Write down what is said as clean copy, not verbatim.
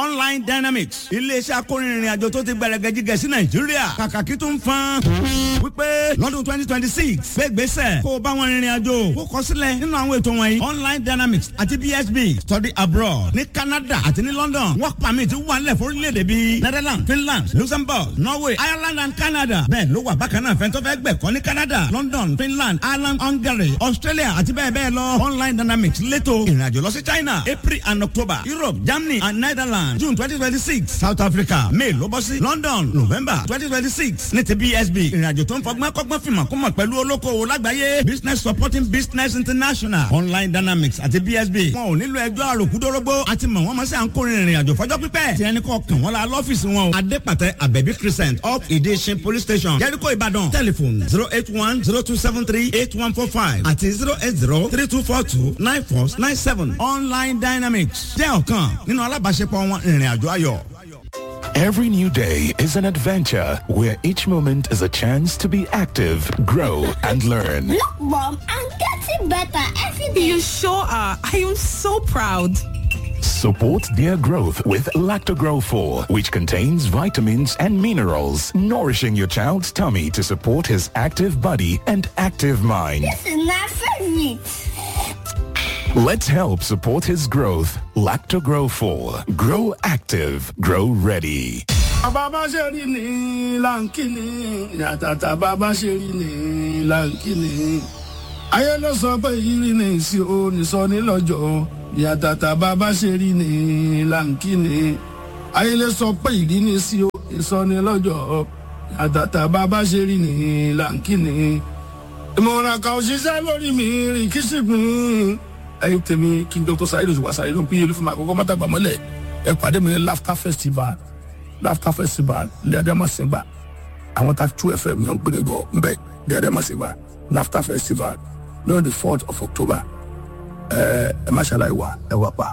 Online Dynamics, iléeṣẹ́ akórinrin àjò tó ti gbẹrẹgẹjigẹ sí Nàìjíríà, kàkàkí tó ń fan wípé lọ́dún 2026 gbégbèsè kó o bá wọn rìnrìn àjò kó kọ sílẹ̀ nínú àwọn ètò wọ̀nyí. Online Dynamics àti BSB study abroad ní Canada àti ní London, work permit wà nílẹ̀ fórílẹ̀-èdè bíi Netherlands, Finland, Luxembourg, Norway, Ireland and Canada. Bẹ́ẹ̀ ló wà bákan náà fẹ́ntọ́ fẹ́ gbẹ̀kọ́ ní Canada, London, Finland, Ireland, Hungary, Australia àti bẹ́ẹ̀ bẹ́ẹ̀ lọ. Online Dynamics lẹ́tọ̀ ìrìnàjò lọ sí China, April and October, Europe, Germany and Netherlands, June 2026, South Africa, May ló bọ́ sí London, November 2026 ní ti BSB. Ìrìnàjò tó ń fọgbọ́n kọ́gbọ́n fìmọ̀ kó mọ̀ pẹ̀lú olókoòwò lágbàáyé, Business Supporting Business International. Online Dynamics àti BSB, wọn ò nílò ẹjọ́ àròkúdórógbó àti mọ̀ wọ́n mọ̀ sí à ń kórè ìrìnàjò fọjọ́ pípẹ́. Tí ẹni kọ́ kàn wọ́n la lọ́fíìsì wọn o, Adépàtẹ, Abẹ́bí Crescent up, Ìdíṣin Police Station, Jericho, Ìbàdàn. Telephone 08102738145 àti 08032429497. Online Dynamics jẹ́ ọ̀kan nínú alábàáṣepọ̀ wọn ìrìn àjò ayọ̀. Every new day is an adventure where each moment is a chance to be active, grow, and learn. Look, Mom, I'm getting better every day. You sure are. I am so proud. Support their growth with Lactogrow 4, which contains vitamins and minerals, nourishing your child's tummy to support his active body and active mind. This is my favorite. Let's help support his growth. Lactogrow 4. Grow active. Grow ready. Bàbá ṣe rí ní láǹkìní yàtàtà, bàbá ṣe rí ní láǹkìní. Ayé ló sọ pé ìrírí ní ìsì o nìsọ nílọ́jọ́ yàtàtà, bàbá ṣe rí ní láǹkìní. Ayé ló sọ pé ìrírí ní ìsì o ìsọ nílọ́jọ́ yàtàtà, bàbá ṣe rí ní láǹkìní. Ìmọ̀ràn kan òṣìṣẹ́ lórí mi rìn kí sì gbìn. Ẹ̀yin tèmi, kí n Dr. Saheed Òṣùpá Saheed ló ń pín olúfẹ́ àkọ́kọ́ mọ́tàgbà mọ́lẹ̀. Ẹ pàdé mi ní Laughter Festival, Laughter Festival lẹ́ẹ̀dẹ́mọ̀sìngbà. Àwọn ta two FM yẹn ń gbé bọ̀ nbẹ lẹ́ẹ̀dẹ́mọ̀sìngbà, Laughter Festival lórí the 4th of October. Ẹ ẹ má ṣàlàyé wa, ẹ wà pa.